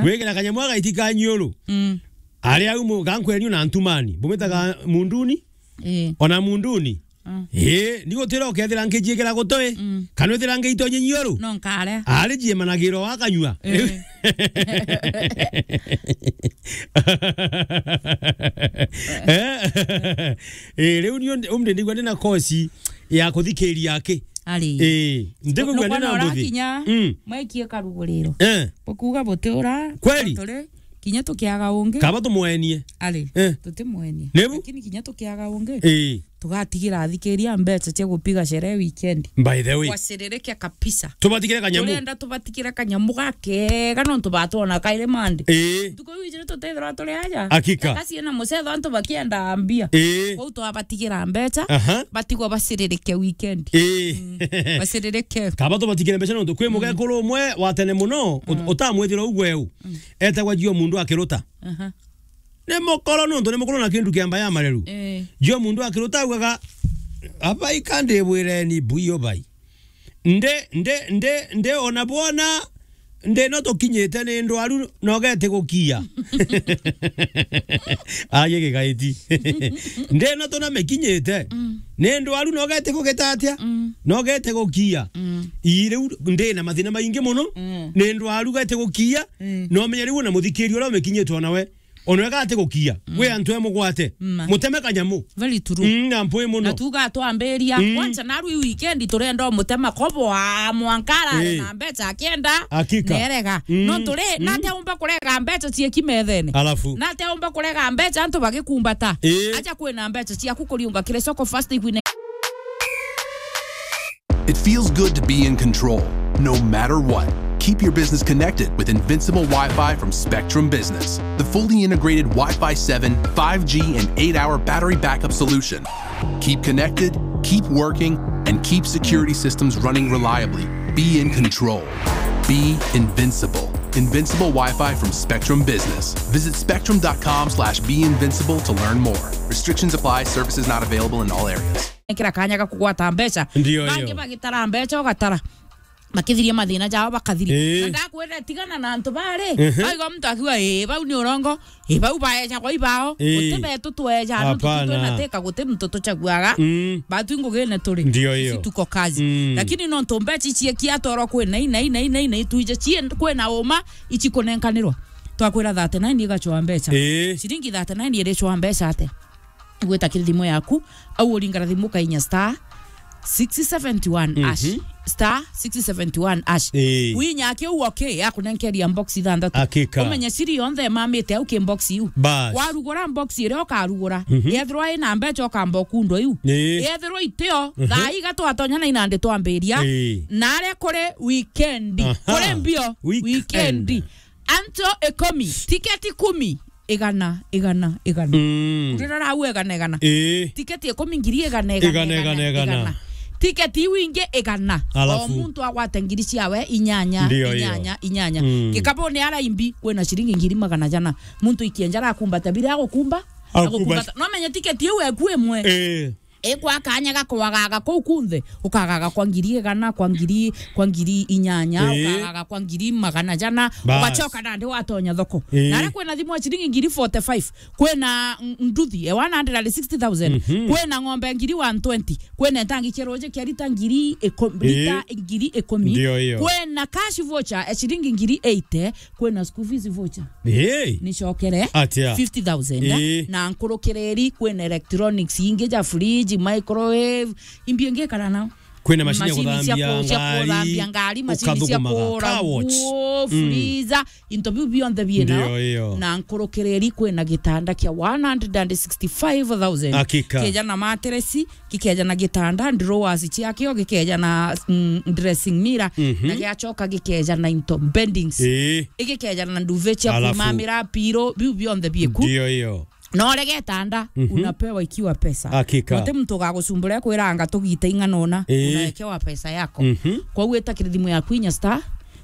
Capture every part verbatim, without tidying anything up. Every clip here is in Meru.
Gwikira kanyamu agaitika nyuru. Mm. Ari au mu-, gankwenyu na ntumani. Bumitaga munduni? Eh. Ona munduni? Mm. Eh, ni gutira ukethira nkijiikira gutoi. Mm. Kana withira ngiito nyinyi uru? No nkare. Ari jiemanagiro wa kanyua. Eh. Eh? Eh, riu ni undi, undi ndigwa ndina kosi ya kuthikiria aki. Ari. Eh, ndigwa ndina mbuthi. Mm. Mwekie karuguriro. Eh. Bukuga buti ura. Kweli? Turi, kinya tukiaga ungi. Kaba tumwenie. Ari. Eh. Tutimwenie. Nibu? Lakini kinya tukiaga ungi. Eh. Tugatigira athikiria mbeca cia gupiga sherehe weekend. By the way. Waciririke kabisa. Tubatigire kanyamu. Turenda tubatigire kanyamu gakega nontu batwona kairi Monday. Ii. Ntuku iu ijiri tutithirwa turi aja. Hakika. Takasi na mucetho antu bakienda mbia. Ii. Kwou twabatigira mbeca, aha, batigwa baciririke weekend. Ii. Mm. Baciririke. Kaba tubatigire mbeca nontu kwi, mm, mugekuru umwe wa tene muno, ut-, mm, utamwithira ugwe u. Mm. Etagwa Jio Mundu Akiruta. Aha. Ni mukoro nontu ni mukoro na kindu kia mba ya mareru. Eh. Jio Mundu Akiruta augaga, "Abai ka ndibwireni buyo bai. Ndi, ndi, ndi, ndi ona bwona, ndi no tukinyite ni ndwaru na ugete gukia." Aye gigaiti. "Ndi no tuna mikinyite. Mm. Ni ndwaru na ugete gugita atia? Mm. Na ugete gukia." Mm. Ii riu ndi na mathina maingi muno. Mm. Ni ndwaru gete gukia. Mm. No menye riu na muthikiria uria umikinyite ona we. Ona wega ati gukia, mm, wi antu e mugwate. Ma. Muteme kanyamu. Very true. Mm, na mpwi muno. Na tuga twambiria. Mm. Kwanza naru i weekend turenda umutema kobo a mwankara, eh, na mbeca akienda. Hakika. Nerega. Mm. No turi, mm, nate umba kurega mbeca cie kimethene. Alafu. Nate umba kurega mbeca antu bagikumbata. Eh. Aja kwina mbeca ciaku kuriunga kiri soko fast ikwine. It feels good to be in control, no matter what. Keep your business connected with Invincible Wi-Fi from Spectrum Business, the fully integrated Wi-Fi seven, five G, and eight-hour battery backup solution. Keep connected, keep working, and keep security systems running reliably. Be in control. Be invincible. Invincible Wi-Fi from Spectrum Business. Visit spectrum dot com slash be invincible to learn more. Restrictions apply. Services not available in all areas. Ekira kanya ga kugwata mbeca. Ndio. Bangi hiyo. Bagitara mbeca, ugatara. Makithiria mathina jao, bakathiria. Eh. Na ndakwira, tigana na antu bari. Mhm. Aiga muntu akiuga, "Eh, bau ni urongo. Eh, bau baeja kwa ibao." Eh. Guti betu tweja, no tuti. Hapana. Twina teka, guti muntu tuchaguaga. Mm. Batu ngugine turi. Ndio hiyo. Sisi tuko kazi. Mm. Lakini nontu mbeca ici cia kiatoro kwina, ina, ina, ina, ina, itwije cie kwina uma, ici kunenkanirwa. Twakwira thirty-nine igachwa mbeca. Eh. Ciringi thirty-nine iricwa mbeca ate? Gwita kiri thimu yaku, au uringara thimu ukainya star six seventy one hash. Mhm. Star six seventy one hash. Ii. Winya kiu, okay, ya kunenkeria box ithanthatu. Hakika. Umenye siri yonthe imamite au ki box iu. Bas. Warugura box iria ukarugura, mhm, yethirwa ina mbeca ukamba ukundwa iu. Ii. Yethirwa itio, mhm, thaa iga twatonya na inandi twambiria. Ii. Nare kuri weekend. Aha. Kuri mbio. Weekend. Weekend. Anto ikumi, tiketi ikumi, igana, igana, igana. Mm. Urira rau igana, igana. Ii. Tiketi ikumi, ngiri igana, igana, igana, igana, igana, igana. Tiketi iu ingi igana. Alafu? O muntu agwate ngiri ciawe inyanya, ndio hiyo, inyanya, inyanya. Mm. Gikabuni ara imbi, kwina ciringi ngiri magana jana. Muntu ikienja arakumbata, bira agukumba, agukumba, agukumbata. No menye tiketi iu eku imwe. Ii. Ikwa kanya ga kwagaga kuu kunthe, ukagaga kwa ngiri igana, kwa ngiri, kwa ngiri inyanya, ii, ukagaga kwa ngiri magana jana, bas, ugachoka nandi watonya thoko. Ii. Nare kwina thimu ya ciringi ngiri forty-five, kwina n-, nduthi ya one hundred and sixty thousand, mhm, kwina ng'ombe ya ngiri one twenty, kwina itangi kia ruji kia rita ngiri iku-, ii, rita ngiri ikumi, ndio hiyo, kwina cash voucher ya ciringi ngiri eighty, kwina school fees voucher. Hey. Nicokere. Atia? Fifty thousand, eh? Ii. Na nkurukiriri, kwina electronics ingi ja fridge, microwave, imbi ingi kana nao. Kwina machine ya kuthambia ngari, machine cia ku-, cia kuthambia ngari, machine cia ukathugumaga. Kuura nguo, car wash. Mm. Freezer, into biu bionthe biena. Ndio hiyo. Na nkurukiriri, kwina gitanda kia one hundred and sixty-five thousand. Hakika. Kija na mattress, gikeja na gitanda, drawers ciakio, gikeja na, mm, dressing mirror, mhm, na giachoka gikeja na into beddings. Ii. Igikeja na nduve cia, alafu, kumamira, piro, biu bionthe bieku. Ndio hiyo. Na urege tanda, mhm, unapewa ikiwa pesa. Hakika. Guti muntu ugagucumbura kwiranga tugite ing'ana una, ii, unawekewa pesa yako. Mhm. Kwa gwita kiri thimu yaku inya star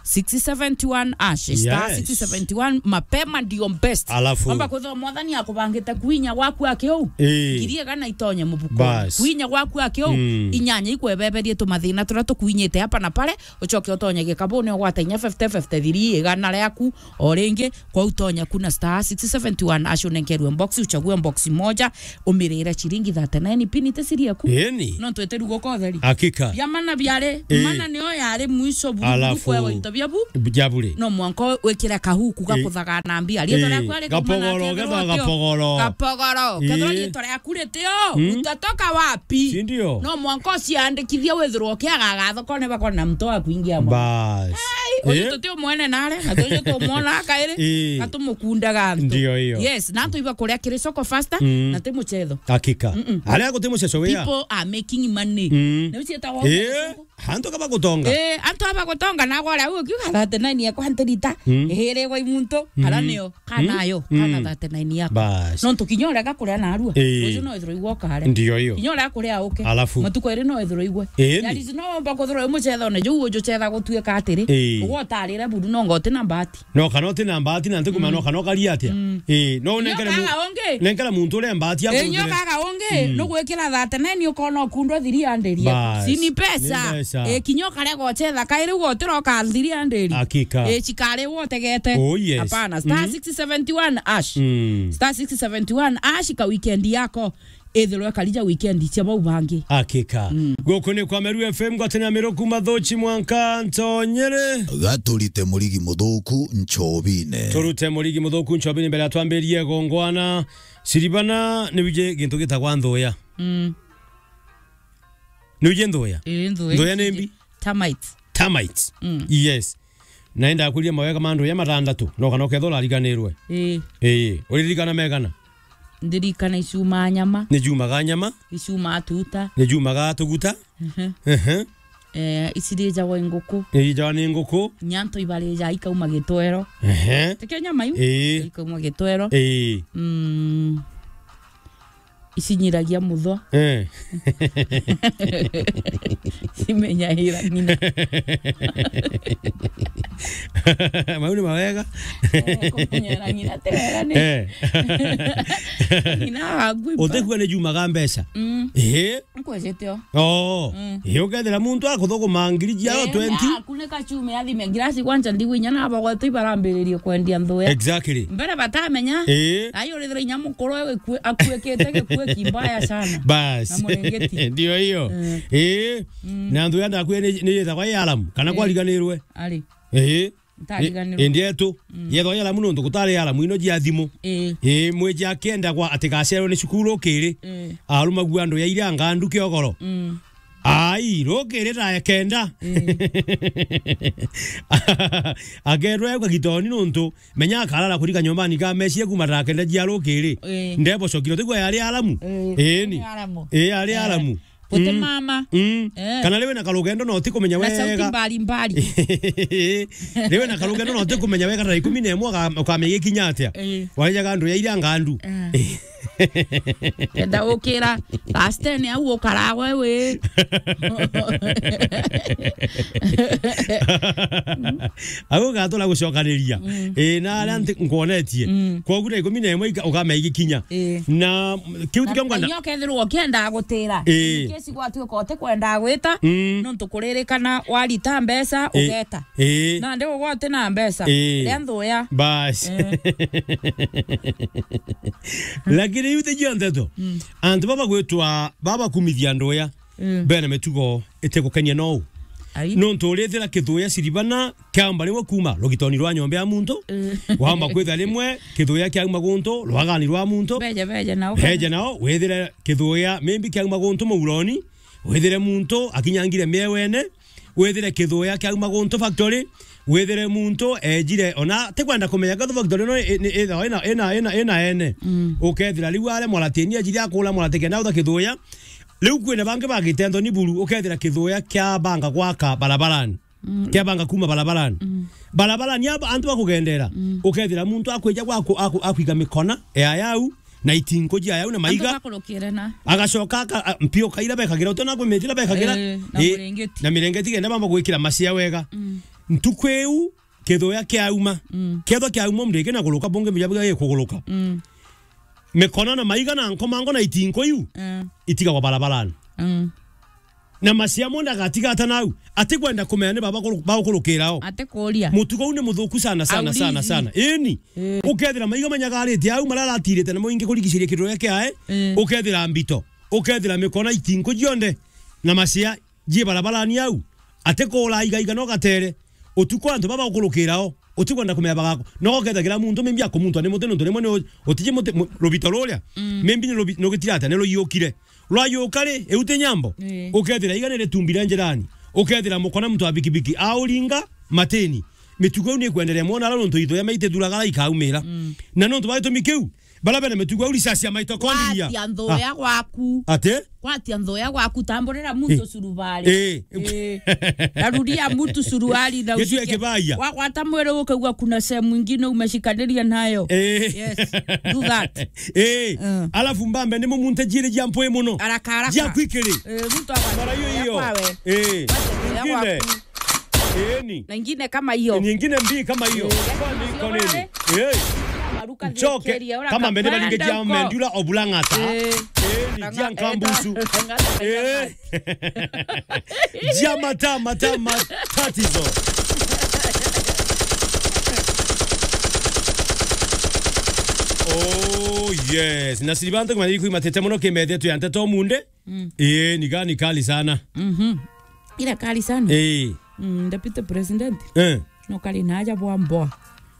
six seventy one hash, star Yes. six seventy one, mapema ndio best. Alafu. Amba kwithirwa mwathani akubangite kwinya gwaku akiu, Ii. ngiri igana itonye mubuko. Bas. Kwinya gwaku akiu, Mm. inyanya ikwebeberie tumathina turia tukwinyite hapa na pale, ucoke utonye gikabuni ugwata inya fifty, fifty three, igana riaku, o ringi, kwa utonya kuna star six seventy one hash unenkerwe box, uchague box moja, umirire ciringi thirty nine pini te siri yaku. Eni. No twete rugo kotheri. Hakika. Bia mana biare, Ii. mana nio yare mwisho buru Alafu. kwewa into bia bu. Jabure. No mwanko wikire kahuku Ii. gakuthaga na mbia. Rietwa Ii. riaku ari Gapogoro, kaumana gethwa akethirwa atio. gapogoro. Gapogoro. Kethirwa Ii. rietwa riaku ritio, Mm. utatoka wapi? Si ndio? No mwanko uciandikithie withirwa ukiaga thokone bakona mtu wa kuingia mwa. Bas. Ai, uyu Ii. tuti umwene nare, na tuju tumwona kairi, Ii. na tumukundaga antu. Ndio hiyo. Yes, na antu iba kuria kiri soko faster, Mm. na ti muchetho. Hakika. Mm-mm. Aria guti muceco wia. People are making money. Mm. Ni ucietagwo Ii. muchetho? Antu kaba gutonga. Eh, antu aba gutonga na gwara u kiuga thirty nine yakwa ntirita. Mm. Ihirigwa imuntu, Mm. kana nio, kana Mm. ayo, kana Mm. thirty nine yakwa. Bas. No ntu kinya uria gakuria narua. Eh. Ucio no ithirwa igwo kare. Ndio hiyo. Kinya uria kuria uke. Alafu. Matuko eri no ithirwa igwe. Eh, There ni. is no omba kuthirwa mucethone, juu uju cetha gutuika atiri. Eh. Ugwo utarire buru no ngoti na mbati. No kana uti na mbati na ntikumenya Mm. no kana ukaria atia. Mm. Eh, no Nyo unenkere mu-, kaga ungi. nenkera muntu uria mbati Eh, nyo akuruthire. kaga ungi, Mm. nugwikira thirty nine ukona ukundwa three hundred. Bas. Si ni pesa. Ni pesa. Eh, kinya ukarega uchetha, kairi ugotira uka three hundred. Hakika. Eh, chikare wotegete. Oh, yes. Hapana. Star Mm. six seventy one hash. Mm. Star six seventy one hash ka weekend yako. Ithirwe karija weekend cia bau bangi. Hakika. Mm. Guku ni kwa Meru F M, ngwataniro ya Meru kuma Thuchi mwanka Ntonyere. Gaturite murigi muthuku nchobine. Turute murigi muthuku nchobine mbere ya twambirie gongwana. Siribana, ni wije gintu gitagwa nthuya. Mm. Ni wije nthuya? Ii, nthuya. Nthuya ni mbi? Termites. Termites. Mm. Yes. Na enda akuria mawega ma nthuya matandatu, no kana ukethwa urariganirwe. Ii. Ii. Uririkana megana? Ndirikana icumaa nyama. Ni jumaga nyama. Icumaa tuta. Ni jumaga tuguta. Mhm. Ehe. Eh, icirijagwa i nguku. Irijagwa ni nguku. Nyanto ibarija ikauma gitwero. Ehe. Tikio nyama iu? Ii. Ikauma gitwero. Ii. Mm. Icinyiragia muthwa. Eh. Cimenyaira ng'ina. Mau ni mawega. Eh, kumenyera ng'ina ti wega ni. Eh. Ng'ina waku ipa. Utikua ni jumaga mbeca. Mm. Eh. Nkwejete o. Oh. Mm. Eh, ukethira muntu akuthuguma ngiri ciao Eh, twenty. Akunika chumi athime ngirasi kwanja ndigwinya na bagwete ibarambiririe kwendia nthuya. Exactly. Mbere batamenya. Eh. Ayo urithira inya mukuru we gikue-, akuikite gikue kimbaya sana. Bas. Na murengeti. Ndio hiyo. Eh. Eh. Mm. Na nthuya ndakuya ni, ni yithagwa i alamu, kana Eh. kwariganirwe. Ari. Eh. Ntariganirwe. Indi etu, Mm. yethwa yaramu nontu gutari aramu ino jia thimu. Ii. Ii, mwiji akenda gwa ati gacerwe ni cukuru ukiri. Ii. Arumagua andu ya iria ngandu kiogoro. Mm. Ai, rukiri thaa kenda. Ii. Akerwa egwa gitoni nontu, menya akarara kurika nyombani ka meci kuma thaa kenda jia rukiri. Ii. Ndebocokire, tigwa yari aramu? Ii. Ii, ni. Ni aramu. Ii, yari Eh. aramu. Guti Mm. mama. Mm. Eh. Kana riwe na karugendo no ti kumenya Na sauti wega. mbali mbali. Riwe na karugendo no ti kumenya wega thaa ikumi na imwe uka-, ukamenya ikinya atia. Eh. Waijaga andu ya iria ngandu. Eh. Kenda ukira, last ten au ukarawe we. Au ugatura gucokaniria. Mm. Eh, na aria nti-, nkwonetie. Mm. Kwogu thaa ikumi na imwe ika-, ukamenya igikinya. Eh. Na kiu tikio ngwenda. Nyo kethirwo ukienda gutira. Eh. In case gwatuika utikwenda gwita, Mm. nontu kuririkana warita mbeca, Eh. ugeta. Eh. Nandi ugwa uti na mbeca. Eh. Ria nthuya. Bas. Eh. Lakini iu tijio nteto. Mm. Antu baba gwitwa, baba kumithia nduya. Mm. Bena mitugo itigukenia nou. Ai. Nontu urithira kithuya ciribana kiaumba rimwe kuma rugitoni rwa nyomba ya muntu, Mm. wamba kwitha rimwe kithuya kiauma guntu rwagani rwa muntu. Beja, beja nao. Beja nao, withire kithuya maybe kiauma guntu muuroni, withire muntu akinyangire miewene, withire kithuya kiauma guntu factory, withire muntu ejire, ona tikwenda kumenya gathu factory no i-, ni ithawa ina, ina, ina, ina ene. Mm. Ukethira riu are mwaratini ejire akula mwarati kenda utha kithuya, Riu kwina bangi bagite Anthony Buru, ukethira kithuya kia banga gwaka barabarani. Mm. Kia banga kuma barabarani. Mm. Barabarani aba antu bakugendera. Mm. Ukethira muntu akwija gwaku, aku-, akwiga mikona ya yau, na itinko jia yau na maiga. Antu bakurukire na. Agacoka aka-, a-, mpio kaira bekagira, utona kwi mitira bekagira. Eh, na Eh, mirengeti. Na mirengeti kenda bamba gwikira macia wega. Mm. Ntuku iu, kithuya kiauma. Mm. Kethwa kiauma, mndiki na kuruka, bungi mjabiga gikuguruka. Mm. Mikona na maiga na nkomango na itinko iu, mm, itigagwa barabarani. Mm. Na macia monthe agatiga ata nau? Atikwenda kumenya ni baba kuru-, bagukurukira o. Atikuria. Mutugo uu ni muthuku sana, sana, sana, sana. Aulizi. Eni. Eh. Ukethira maiga manyagarite au, maria aratirite namo ingi kurigiciria kithuya kiae. Eh. Ukethira mbito. Ukethira mikona itinko cionthe. Na macia ji barabarani au. Atikura igaiga no gatere. Utuku antu baba bagukurukira o. Utikwenda kumenya bagako. No ukethira kira muntu mimbi akumuntwa ni muti nontu rimwe ni u-, utiji muti, mu-, rubito ruria. Mm. Mimbi ni rubi-, nugitirata ni ruyukire. Rwayuka ri, iu ti nyambo. Ii. Ukethira iga ni ritumbi ria njirani. Ukethira mukona muntu wa bikibiki auringa matini. Mitugo iu ni ikwenderea mwona ara nontu ithuya maite thuragara ikaumira. Mm. Na nontu wa gitumi kiu, bara bena mitugo iu risasi ya maitokondiria. Gwatia nthuya gwaku. Ati? Gwatia nthuya gwaku, tamburira muntu, ii, suruari. Ii. Ii. Taruria mtu suruari na ushike. Gitue kibaya. Wagwata mwiri ukaigua kuna sehemu ingine umeshikaniria nayo. Ii. Yes. Do that. Ii. Mm. Alafu mbambe ni mumunte jiiri jia mpwi muno. Haraka, haraka. Jia kwikiri. Ii, mtu akwa-, mara hiyo hiyo. Kwawe. Ii. Ingine. Ii, ni. Na ingine kama hiyo. Ni ingine mbii kama hiyo. Ii. Kwani iko nini? Ii. Maruka njoke. Thikiria, ura kama mbere kapanda baringe jia uko. Mendura obulang'ata. Ii. Ii, ni jia nkambusu. Ii. Jia mata, mata, matatizo. Oh, yes. Na siri bantu kumanya ikui matete muno kimethe tu ya nteto munde. Mm. Ii, ni gani kali sana? Mhm. Ira kali sana. Ii. Mm, Deputy President. Eh. No kari na aja bwa mboa.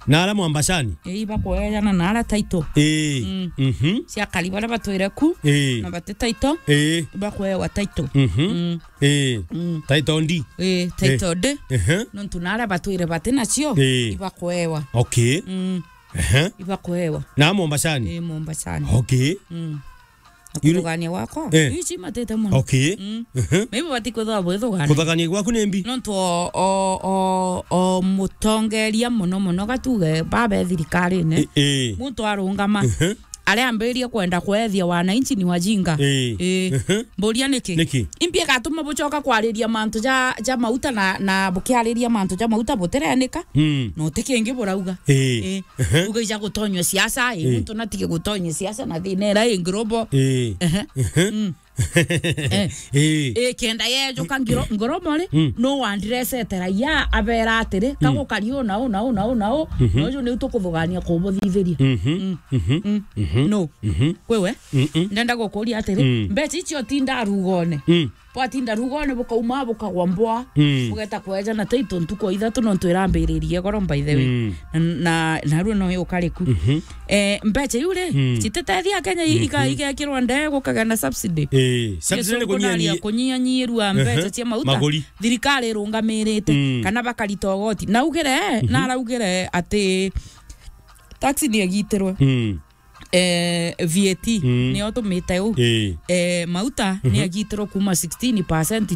Na ara mwambacani? Ii, ibakwejana na ara title. Ii. Mm. Mhm. Cia kari bara batwire ku. Ii. Na bati title. Ii. Ibakwewa title. Mhm. Mm. Ii. Mm. Title ndi? Ii, title ndi. Ehe. Nontu na ara batwire bati nacio. Ii. Ibakwewa. Okay. Mm. Ehe. Ibakwewa. Na mwambacani? Ii, mwambacani. Okay. Mm. Na kuthugania gwakwa, eh, ici matete muno. Okay. Mm. Mhm. Maybe batikwithwa bwithugania. Kuthugania gwaku ni mbi? Nontu o, o, o, o mutongeria muno muno gatuge babe thirikarine. Eh, eh. Muntu arungama. Mhm. Aria ambirie kwenda kwethia wananchi ni wajinga. Eh. Eh. Mhm. Mburia niki? Niki? Imbi igatuma bucoka kwariria mantu ja, ja mauta na, na bukiariria mantu ja mauta butirenika? Mm. No ti kingi burauga. Eh. Eh. Ehe. Uga ija gutonywa siasa, ii, ii, muntu natige gutonywa siasa na thina ira i global. Ii. Ehe. Ehe. Mm. Eh. Ii. Ii, kenda yejuka ngiro-, global ri, mm, no wandirecete raia abera atiri, mm, kagukari u na u na u na u na u, mhm, na uju niu tukuthugania kubuthithiria. Mhm. Mm. Mhm. Mm. Mhm. No. Mhm. Kwiwe? Mm-mm. Ndenda gukuria atiri, mm, mbeca icio tinda rugone. Mm. Bwatinda rugone bukauma bukagwa mboa, mm, bugeta kweja na taito ntuku o ithatu nontu irambiririe goro, by the way. Mm. Na, na, narua no yukariku. Mhm. Eh, mbeca iu ri, mm, cititethia Kenya i-, ika-, mhm, igekirwa ndee gukagia na subsidy. Eh, subsidy ni kunyianyia-, kunyianyirua, ehe, mbeca cia mauta. Maguri. Thirikari irungamirite, mm, kana bakarita ugoti. Na ugire, mhm, naraugire ati tax ni igitirwe. Mm. Eh, V A T, mm, niyo tumite u. Ii. Eh, mauta, mhm, ni agitirwo kuma sixteen percent